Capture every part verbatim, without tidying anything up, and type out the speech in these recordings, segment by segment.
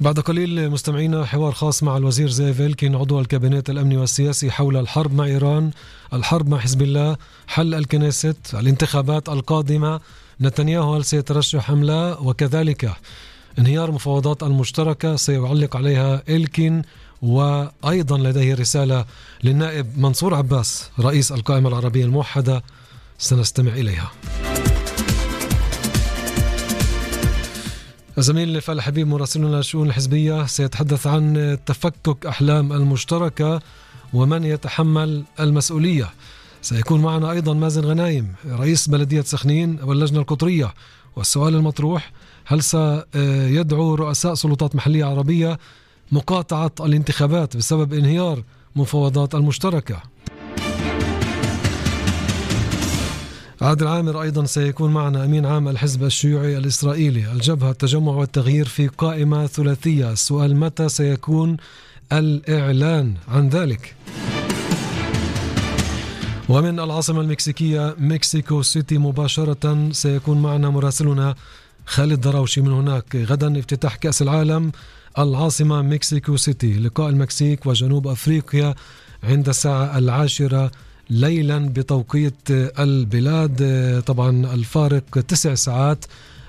بعد قليل مستمعينا حوار خاص مع الوزير زيف إلكين عضو الكابينت الأمني والسياسي حول الحرب مع إيران، الحرب مع حزب الله، حل الكنيست، الانتخابات القادمة، نتنياهو هل سيترشح أم لا، وكذلك انهيار مفاوضات المشتركة سيعلق عليها إلكين. وأيضا لديه رسالة للنائب منصور عباس رئيس القائمة العربية الموحدة سنستمع إليها. الزميل نفال حبيب مراسلنا للشؤون الحزبية سيتحدث عن تفكك أحلام المشتركة ومن يتحمل المسؤولية. سيكون معنا أيضا مازن غنايم رئيس بلدية سخنين واللجنة القطرية. والسؤال المطروح: هل سيدعو رؤساء سلطات محلية عربية مقاطعة الانتخابات بسبب انهيار مفاوضات المشتركة؟ عادل عامر أيضا سيكون معنا أمين عام الحزب الشيوعي الإسرائيلي. الجبهة التجمع والتغيير في قائمة ثلاثية. السؤال: متى سيكون الإعلان عن ذلك؟ ومن العاصمة المكسيكية مكسيكو سيتي مباشرة سيكون معنا مراسلنا خالد دراوشي من هناك. غدا افتتاح كأس العالم، العاصمة مكسيكو سيتي، لقاء المكسيك وجنوب أفريقيا عند الساعة العاشرة ليلا بتوقيت البلاد. طبعا الفارق تسع ساعات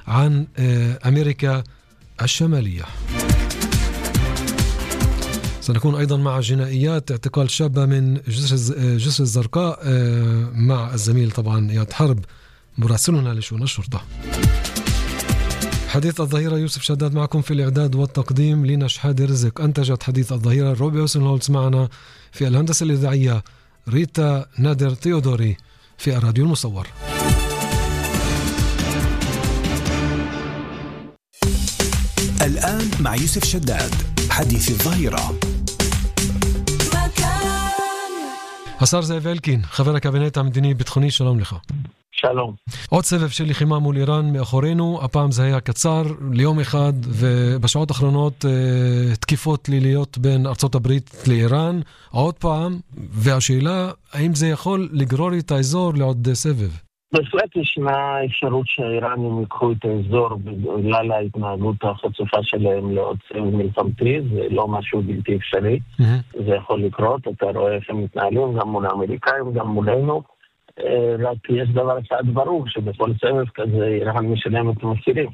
عن أمريكا الشمالية. سنكون أيضا مع جنائيات اعتقال شابة من جسر الزرقاء مع الزميل طبعا إياد حرب مراسلنا لشؤون الشرطة. حديث الظهيرة يوسف شداد معكم في الإعداد والتقديم. لينا شحادي رزق أنتجت حديث الظهيرة. روبي حسن هولتز معنا في الهندسة الإذاعية. ريتا نادر تيودوري في الراديو المصور. الآن مع يوسف شداد حديث الظهيرة. השר זאב אלקין, חבר הקבינט המדיני ביטחוני, שלום לך. שלום. עוד סבב של לחימה מול איראן מאחורינו, הפעם זה היה קצר, ליום אחד, ובשעות האחרונות תקיפות ליליות בין ארצות הברית לאיראן, עוד פעם, והשאלה, האם זה יכול לגרור את האזור לעוד סבב? בהחלט ישנה אפשרות שהאיראנים ייקחו את האזור בגלל ההתנהגות החצופה שלהם לעוד סבב מלחמתי, זה לא משהו בלתי אפשרי, mm-hmm. זה יכול לקרות, אתה רואה איך הם מתנהלים, גם מול האמריקאים, גם מולנו, רק יש דבר אחד ברור, שבכל סבב כזה איראן משלם את המחירים.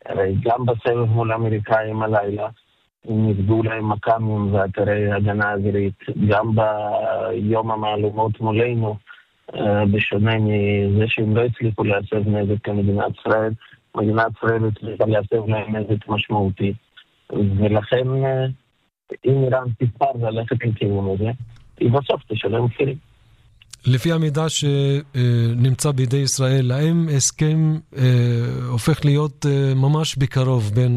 הרי גם בסבב מול האמריקאים הלילה, הם נפגעו להם מקמים ואתרי הגנה אווירית, גם ביום המהלומות מולנו, בשונה מזה שהם לא הצליחו להסב נזק כמדינת ישראל, מדינת ישראל הצליחה להסב להם נזק משמעותי. ולכן, אם איראן תבחר ללכת לכיוון הזה, היא בסוף תשלם מחירים. לפי המידע שנמצא בידי ישראל, האם הסכם הופך להיות ממש בקרוב בין